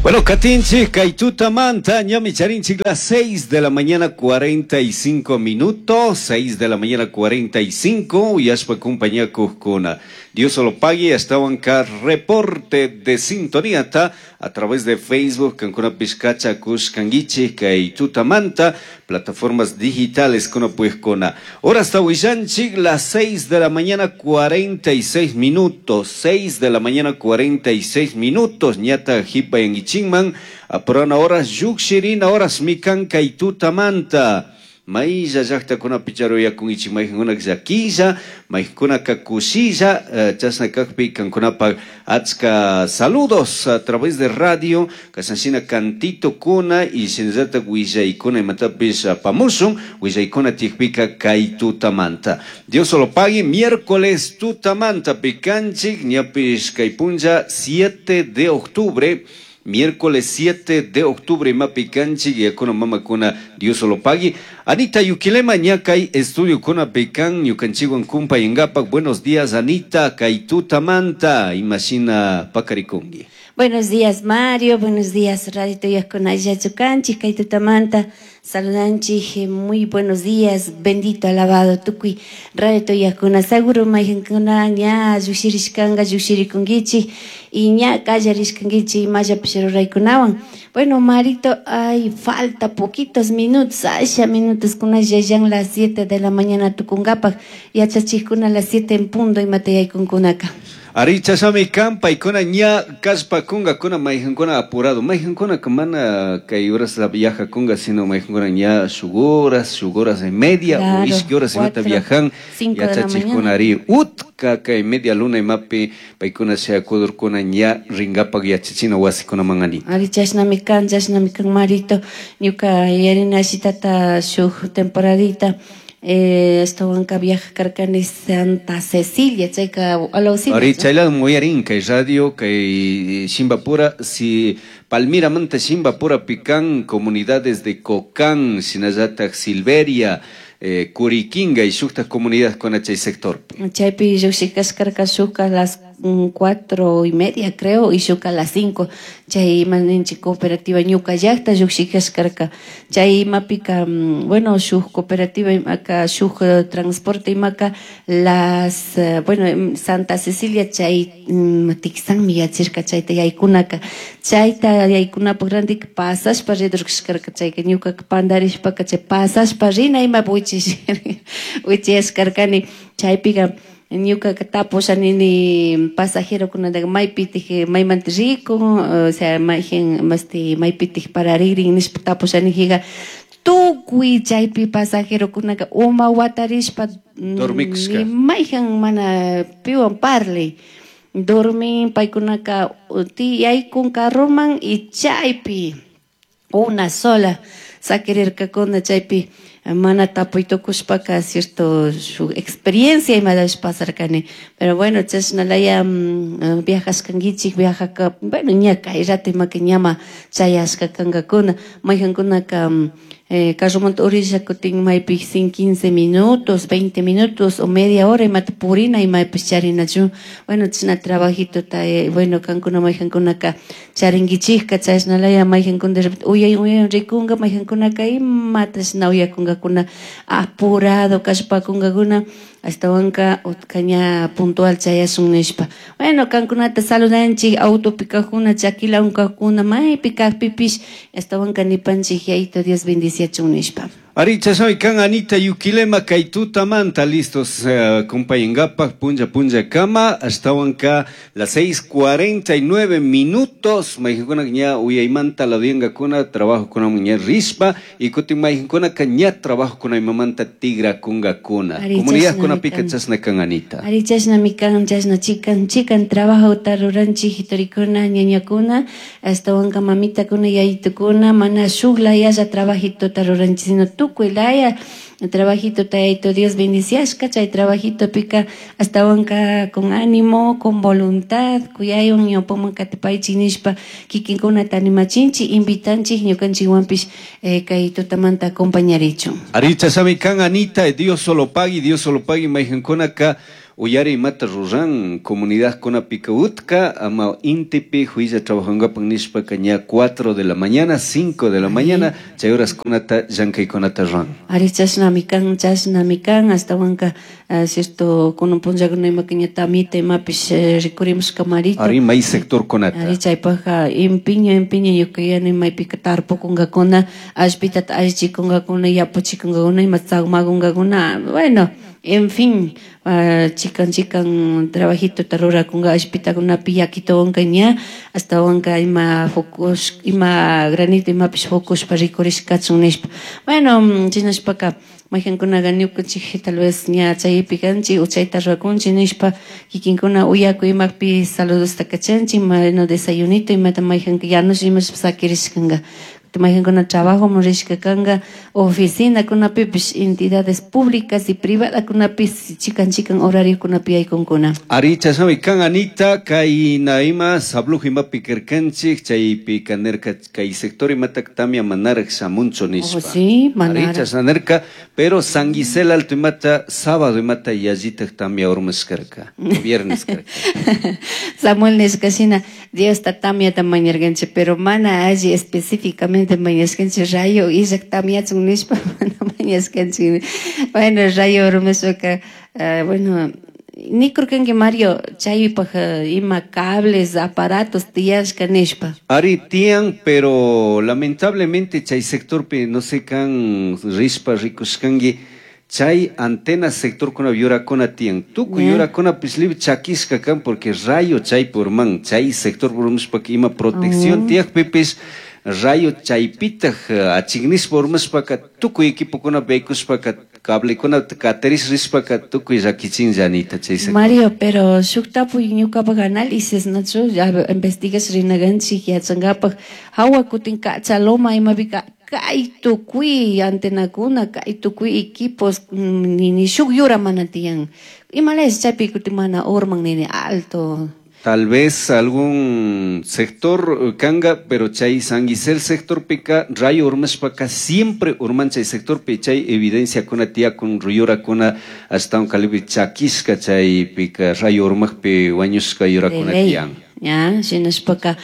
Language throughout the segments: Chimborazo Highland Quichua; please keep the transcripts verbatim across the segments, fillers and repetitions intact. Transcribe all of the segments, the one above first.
Bueno, katinchik, kay tutamanta, ñami charinchik las seis de la mañana cuarenta y cinco minutos, seis de la mañana cuarenta y cinco, yashpa compañía kujkuna. Dios lo pague, ashtawanka reporte de sintonía ta a través de Facebook, kankuna pishkacha kushkanguichik, kay tutamanta, plataformas digitales kuna puejkuna. Ahora hasta huillanchik, las seis de la mañana cuarenta y seis minutos, seis de la mañana cuarenta y seis minutos, ñata jipa yanguichinman, apurana horas llukshirina horas mikan kay tutamanta. Maylla llaqtakunapi charuyakunkichik, mayqinkunaka llakilla, mayqinkunaka kushilla, eh, chashna kaqpi kankunapaq achka saludos a través de radio, kashanshina cantito kuna y shinallatak willaykuna imatapish apamushun, willaykuna tiyakpika kay tutamanta. Dios lo pague, miércoles tutamanta pikanchik, ñapish kay punlla siete de octubre, miércoles siete de octubre, mapicanchi, yakuna mamakuna, Dios lo pague. Anita Yuquilema, ñakay estudio kuna pecan, ñukanchiguan kumpa yengapak. Buenos días, Anita, kaitutamanta, imagina pacarikungi. Buenos días, Mario, buenos días, Radio Tuyakuna Yachukanchi, kaitutamanta, saludanchi, muy buenos días, bendito, alabado, tukuy, Radio Tuyakuna, seguro mayjankuna, ña, yushirishkanga, yushirikungichi, y ña, kallarishkangichi, maya pishiruraykunawan. Bueno, Marito, ay, falta poquitos minutos, asha minutos, kuna yayan las siete de la mañana tukungapak, yachachikuna las siete en punto, imatayaykunkunaka. Aricha sami kampa y kuna ña kaspa kunga kuna mayjankuna apurado mayjankuna mana kay horas la viaja kunga sino mayjankuna ña shuguras shuguras y media claro, o ishki horas imata viajan yachachikuna ari utka kay media luna imapi paykuna sea kudurkuna ña ringapak yachachina wasikuna mangani. Ari chashnami kan chashnami kan Marito ñuka yarina shitata shuk temporadita. Eh, estaban viaja carcani Santa Cecilia, chayka alaucita. Ahorita chayla muyarin kay radio kay Shimbapura si Palmira manta Shimbapura pican comunidades de Cocán, Sinayatak Silveria, eh, Curiquinga y shukta comunidad con chay sector. Chaypi lluqshikas karka shuka las cuatro y media creo y shuka las cinco chay maninchi cooperativa ñuka llaqta lluqshikas karka chay imapika bueno shuk cooperativa imaka shuk transporte imaka las bueno Santa Cecilia chay tiksanmi yachirka chayta yaykunaka chayta yaykunapaq randik pasashpa ridurkash karka chayka ñukaka pandarishpaka chay pasashpa rina imapi wichish wichiyash karkani chaypika ñuka tapusha nini pasajerokunataqa maypitik maymanta rikun o sea mayjin masti maypitik pararikrin nishpa tapusha nijiqa tukuy chaypi pasajerokunaka uma watarishpa dormikushka mayjan mana piwan parlay dormin paykunaka tiyaykun carroman y chaypi una sola sakirirkakuna chaypi mana tapuy tukushpaka cierto su experiencia imadash pasarkani pero bueno chashnalaya viajashkankichik viajaka bueno ña kay rato imaka ñama chayashka kankakuna mayjankunaka eh, carromanta urisha kutin maypi sin quince minutos veinte minutos o media hora imata purina imaypish charinachu bueno chashna trabajito ta eh, bueno kankuna mayjankunaka charinkichikka chashnalaya mayjankuna de repente uyay uyay rikunka mayjankunaka imata chashna uyakunkakuna apurado kashpakunkakuna ashtawanka utkaña puntual chayasun nishpa bueno kankunata saludanchik autopi kajkuna chakilawan kajkuna maypi kajpipish ashtawanka nipanchik yayito Dios bendiciachun nishpa. Aricha soy kan Anita Yuquilema kay tutamanta listos uh, kumpayingapak punlla punlla kama ashtawanka las seis cuarenta y nueve minutos mayjankuna ña uyaymanta laduyankakuna trabajo kuna ña rishpa y kutin mayjankuna ka ña trabajo kuna imamanta tigrakunkakuna comunidad kuna pika chashna kan Anita. Ari chashnami kan chashna chikan chikan trabajo ruranchik torikuna ñañakuna ashtawanka mamitakuna yayitukuna mana shuk layalla trabajito ruranchik sino tukuy laya trabajito tayito Dios bendiciashka chay trabajito pika hasta wanka con ánimo con voluntad kuyaywan ñawpaman katipaychik nishpa kikinkunata animachinchik invitanchik ñukanchikwanpish eh, kay tutamanta acompañarichun. Aricha sami kan Anita Dios solo pagui Dios solo pagui mayjankunaka Uyari imata ruran comunidadkunapika utka ama intipi huilla trabajangapak nishpaka ña cuatro de la mañana, cinco de la mañana, chay horaskunata llankaykunata ruran. Ari chashnami kan, chashnami kan, ashtawanka uh, cierto kunan punllakuna imaka ña tamita imapish eh, rikurimushka marito. Ari may sectorkunata. Ari chaypajka empeño empeño ñuka yuyani maypika tarpukunkakuna, allpitata allichikunkakuna, yapuchikunkakuna, ima tzagmakunkakuna, bueno, en fin, uh, chikan chikan trabajitota rurakunka allpitakunapi yakituwanka ña ashtawanka ima fukush ima granito imapish fukushpa rikurishkachun nishpa. Bueno, shinashpaka maykankunaka ñukanchik tal vez ña chaypi kanchik o chayta rurakunchik nishpa kikinkuna uyakuy imakpi saludosta kachanchik, bueno, desayunito imata mayjanka yanush imash sakirishkanka. Maykankuna trabajoman rishka kanka oficinakunapipish entidades públicas y privadakunapish chikan chikan horariokunapi yaykunkuna. Ari chashnami kan Anita, kay ima sabluj imapi karkanchik chaypika nirka kay sector imatak tamia manarak shamunchu nishpa. Oh, sí, Ari manarak. chashna nirka, pero San Gisela Alto imata sábado imata yallitak tamia urmashkarka, viernes karka. Samuel nishka shina Diosta tamiata mañarkanchik, pero mana alli específicamente mañashkanchik rayo illak tamiachun nishpa mana mañashkanchik. Bueno, rayo urmashpaka, uh, bueno, nikurkanki Mario chaypaj ima cables, aparatos tiyashka nishpa. Ari tiyan, pero lamentablemente chay sectorpi no sé kan rishpa rikushkanki chay antena sectorkuna yurakuna tiyan. Tukuy Yeah. yurakunapish libre chakishka kan porque rayo chaypi urman, chay sector urmashpaka ima protección Oh. tiyakpipish rayo chaypitaj achiknishpa urmashpaka tukuy equipokuna yaykushpaka cablekuna katarish rishpaka tukuy llakichinlla Anita chay sector. Mario, pero shuk tapuy ñukapak análisis, nachu, ya investigash rinaganchik yachankapak hawa kutin kacha loma imapika kay tukuy antenakuna, kay tukuy equipos, nini shuk yura mana tiyan. Imalaya chaypi kutin mana urman nini alto. Tal vez algún sector kanga, pero chay San Gisel sector pika rayo urmashpaka siempre urman chay sector pi chay evidencia kuna tiyakun yurakuna hasta un kalibi chakishka chay pika rayo urmakpi wañushka yurakuna De ley. tiyan. Ya, shinashpaka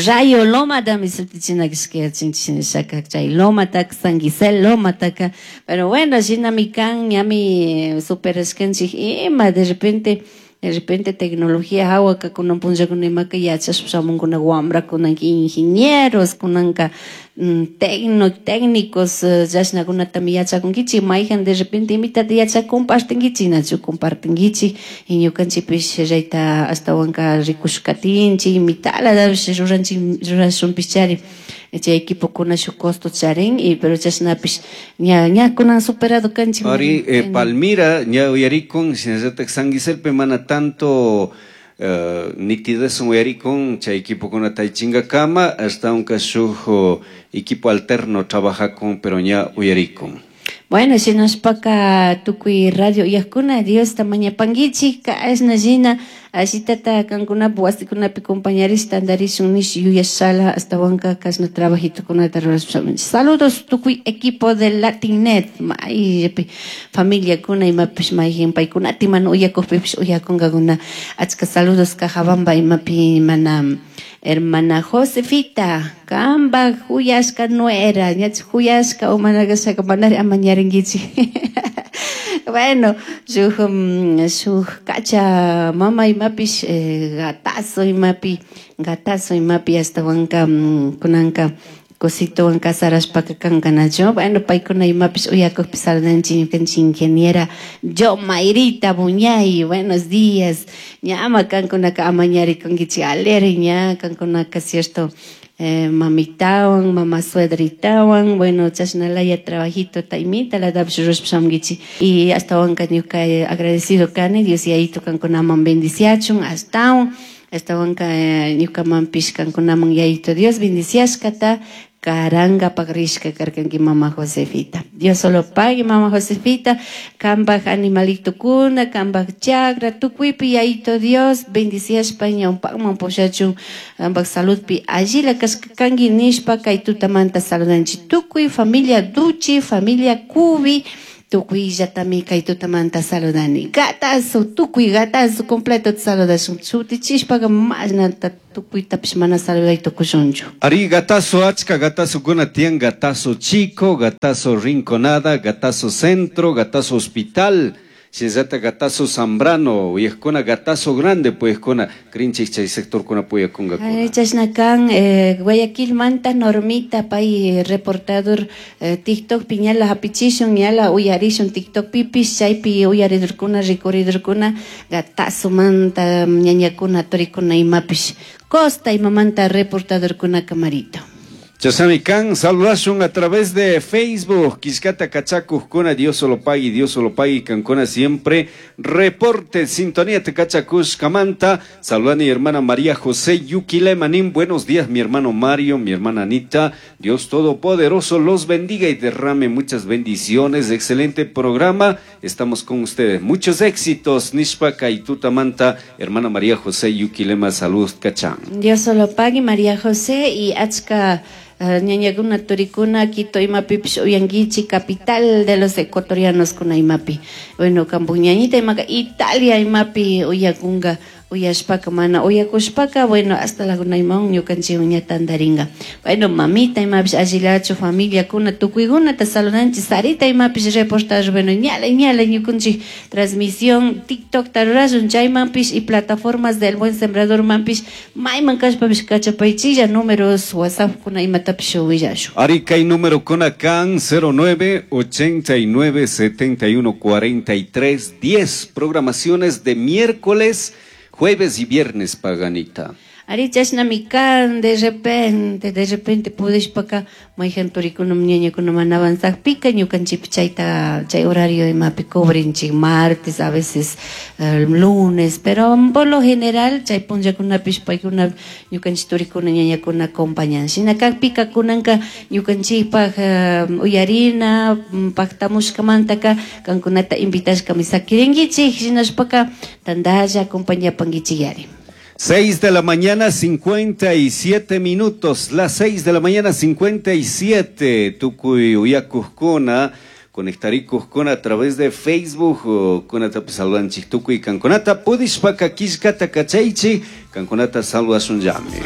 rayo lomatami sutichina kashka shinashaka chay lomataka San Gisel lomataka, pero bueno, shinami kan ñami superashkanchik ima de repente de repente tecnología hawaka kunan punllakuna imaka yachashpa shamunkuna wamrakuna ingenieros kunanka mm, tecno, técnicos eh, chashnakunatami yachakunkichik mayjan de repente imitata yachak compartinkichik nachu compartinkichik y ñukanchikpish rayta ashtawanka rikushkatinchik imitalatapish ruranchik rurashunpishchari chay equipokuna shuk costo charin y pero chashnapish ña ña kunan superado kanchik. Ari eh, Palmira ña uyarikun shinallatak San Giselpe mana tanto uh, nitidez uyarikun chay equipokuna taychinkakama ashtawanka shuk oh, equipo alterno trabajakun pero ña uyarikun. Bueno, shinashpaka tukuy radio uyakuna Diosta mañapankichik kashna shina ashitata kankunapak wasikunapi compañarish tantarishun nish yuyashala ashtawanka kashna trabajitokunata rurashpa. Saludos tukuy equipo de Latinnet, maypi familiakuna imapish mayjin paykunata mana uyakukpipish uyakunkakuna achka saludos Cajabamba imapi mana hermana Josefita, kambak huyashka nuera, ñach huyashka o mana kashaka manari amañarinkichik. Bueno, shuk um, shuk kacha mama imapish eh, gatazo imapi, gatazo imapi ashtawanka um, kunanka cositowan casarashpaka kankanachu. Bueno, paykuna imapish uyakukpi saludanchik ñukanchik ingeniera yo Mayrita Buñay, buenos días. Ñama kankunaka amañarikunkichik alegre ña kankunaka cierto eh, mamitawan, mama suedritawan, bueno, chashnalaya trabajito taimita la dapish rurashpa shamunkichik. Y ashtawanka ñuka agradecido kani Dios yayito kankunaman bendiciachun ashtawan ashtawanka eh, ñukamanpish kankunaman yayito Dios bendiciashkata karankapak rishka karkanki mama Josefita. Dios solo pague mama Josefita, kambaj animalitokuna, kambaj chakra, tukuypi yayito Dios bendiciashpa ñawpakman pushachun kambaj saludpi allila kashka kanki nishpa kay tutamanta saludanchik tukuy familia Duchi, familia Cubi, Tukuyllatami kay tutamanta saludani. Gatazo, tukuy gatazo completo saludashun. Shutichishpaqa mashnata tukuytapish mana saluday tukushunchu. Ari gatazo achka gatazo kuna tiyan gatazo chico, gatazo rinconada, gatazo centro, gatazo hospital. Shinallata gatazo Zambrano, uyajkuna gatazo grande puyajkuna, crinchik chay sectorkuna puyakunkakuna. Ay, chashna kan eh, Guayaquilmanta Normita pay reportador eh, TikTok piñala hapichishun ñala uyarishun TikTok pipish chaypi uyaridurkuna rikuridurkuna gatazo manta ñañakuna turikuna imapish costa imamanta reportadorkuna kamarito. Chasami kan, saludashun a través de Facebook, Quiscata Cachacuj-kuna, Dios solo pague, Dios solo pague, Cancuna siempre, reporte, sintonía Tecachacush, Camanta, saludan mi hermana María José Yuquilemanín, buenos días mi hermano Mario, mi hermana Anita, Dios Todopoderoso los bendiga y derrame muchas bendiciones, excelente programa, estamos con ustedes, muchos éxitos, Nishpa Kaituta Manta, hermana María José Yuquilema, salud, Cachán. Dios solo pague, María José y Achka. Ñañakuna turikuna Quito imapipish uyankichik capital de los ecuatorianos kuna imapi bueno kampu ñañita imaka Italia imapi uyakunga uyashpaka mana uyakushpaka bueno hasta la imawan ñukanchik ña tantaringa bueno mamita imapish allillachu familiakuna tukuykunata saludanchik Sarita imapish reportaje bueno ñala ñala ñukanchik transmisión TikTok rurashun chaymanpish y plataformas del Buen Sembrador manpish mayman kashpapish kachapaychilla números WhatsApp kuna imatapish willashun. Ari kay número kuna kan cero nueve ochenta y nueve setenta y uno cuarenta y tres diez programaciones de miércoles, jueves y viernes, Paganita. Ari chashnami kan, de repente, de repente pudishpaka mayhan turikuna ñañakuna mana avanzakpika ñukanchikpi chayta chay horario imapi cubrinchik martes, a veces eh, lunes, pero por lo general chay punllakunapish paykuna ñukanchik turikuna ñañakuna acompañan. Shina kakpika kunanka ñukanchikpaj eh, uyarina paktamushkamantaka kankunata invitashkami sakirinkichik shinashpaka tantalla acompañapankichik yari. Seis de la mañana, cincuenta y siete minutos. Las seis de la mañana, cincuenta y siete. Tukuy uyakujkuna, conectarikujkuna a través de Facebook. Kunata saludanchik tukuy kankunata. Pudishpaka kishkata kachaychi, kankunata saludashun llami.